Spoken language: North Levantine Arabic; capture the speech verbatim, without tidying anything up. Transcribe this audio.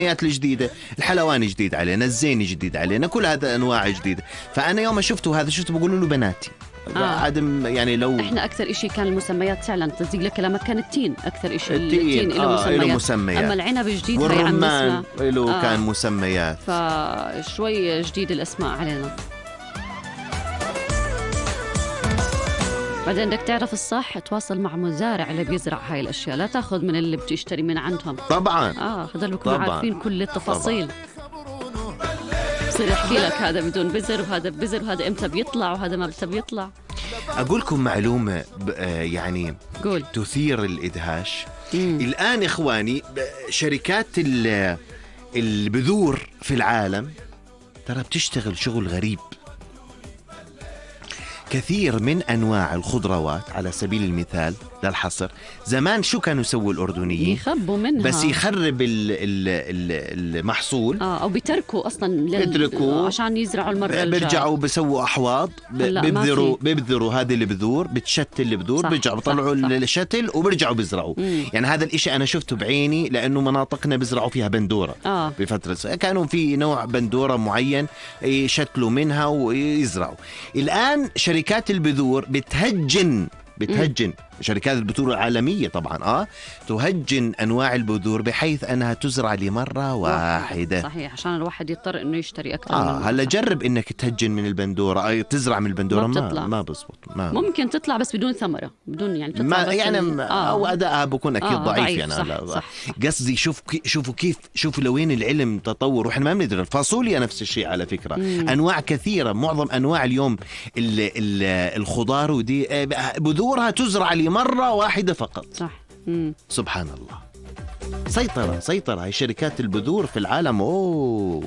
الجديدة، الحلواني جديد علينا، الزيني جديد علينا، كل هذا أنواع جديدة. فأنا يوم شفته هذا شفته بقول له بناتي آه. عدم يعني لو احنا اكثر إشي كان المسميات فعلا تصدق لك كلامك كان التين اكثر إشي. التين له آه مسميات. مسميات، اما العنب الجديد هي عم والرمان نسمع له آه. كان مسميات، فشوي جديد الاسماء علينا. بعدين بدك تعرف الصح، تواصل مع مزارع اللي بيزرع هاي الاشياء، لا تاخذ من اللي بتشتري من عندهم. طبعا اه خذوا بكونوا عارفين كل التفاصيل. بصير يحكي لك هذا بدون بذر وهذا بذر وهذا امتى بيطلع وهذا ما امتى بيطلع. اقول لكم معلومه يعني قول. تثير الادهاش. مم. الان اخواني شركات البذور في العالم ترى بتشتغل شغل غريب. كثير من أنواع الخضروات على سبيل المثال للحصر، زمان شو كانوا يسووا الأردنيين؟ يخبوا منها، بس يخرب ال ال المحصول آه أو بيتركوا أصلا بيتركوا عشان يزرعوا المرة الجاية، بيرجعوا بيسووا أحواض، بيبذروا بيبذروا هذه البذور، بتشتل البذور، بيرجعوا بيطلعوا الشتل وبيرجعوا بيزرعوا. مم. يعني هذا الإشي أنا شفته بعيني، لأنه مناطقنا بيزرعوا فيها بندورة. آه. بفترة كانوا في نوع بندورة معين يشتلوا منها ويزرعوا. الآن شركات البذور بتهجن بتهجن م. شركات البذور العالمية طبعا اه تهجن أنواع البذور بحيث أنها تزرع لمرة واحدة. صحيح، عشان الواحد يضطر إنه يشتري أكثر. آه هلا جرب إنك تهجن من البندورة أي تزرع من البندورة ما ما, ما بزبط. ما ممكن تطلع بس بدون ثمرة، بدون يعني تطلع ما بس يعني آه. أو أداءها بكون أكيد آه ضعيف, ضعيف يعني. صح صح. قصدي شوف شوفوا كيف شوفوا لوين العلم تطور، وإحنا ما بندري. الفاصوليا نفس الشيء على فكرة. مم. أنواع كثيرة، معظم أنواع اليوم ال ال الخضار ودي بذورها تزرع لمرة واحدة فقط. صح. مم. سبحان الله. سيطرة سيطرة هاي شركات البذور في العالم. أوه